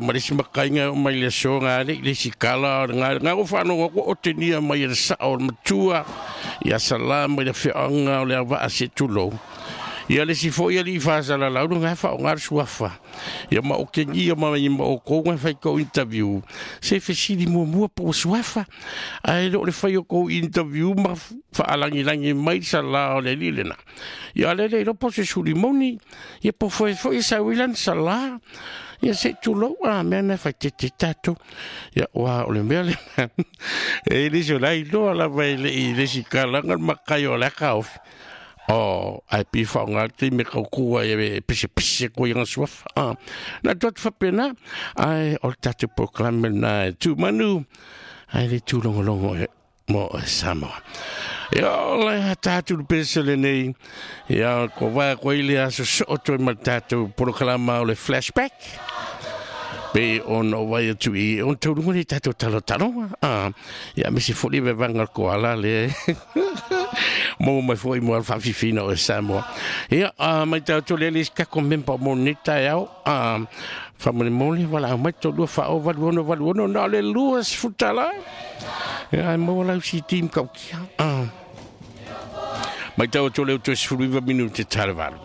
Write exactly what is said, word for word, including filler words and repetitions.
Ma le isi makaiga e oo mai le aso ga le i le isi kala o le ga ga o faalogo atu o otegia mai e le sao o le matua ia Salā mai le afioaga o le auvaa se tulou. Ia le isi foi alii faasalalau luga e faaaoga le suafa. Ia ma otegia mai ma outou ga fai kou interview se fesili muamua po o suafa. Ae le o le fai o kou interview ma faalagilagi mai le salā o le alii lena. Ia le le iloa po o se suli moni. Ia po foi foi e sau ai lana salā. Ia se i tulou a mea na faitete tatou. Ia ua o le mea lena. E le isi o la iloa lava e le i le isi kalaga le makai o le aka ofi. O, ae pi whaonga te me kau kua e e pise pise ko i ngā suafa. Ah, na tu atu whapena, ai o le tātou proklame na e tū manu, ai le tūlongolongo e mo e Samoa. Ia o le a tātou le pese le nei, ia ko vai ko ile aso so toi ma le tātou proklama o le flashback. Pe ona o vai atu i on taurunga ni tātou talo talonga. Ah, ia me si foli ve vanga ko ala le. Mo mai foi mo al whawhiwhina o e Samoa. Ia, uh, mai tātou le le kako mempa mo neta e au. Uh, whamone mole, wala au mai tō lua wha o valu ono valu ono na le lua sfutala. Ia, ai mo lau si team kau kia. Uh, mai tātou le uto sfuluiva minute tare valu.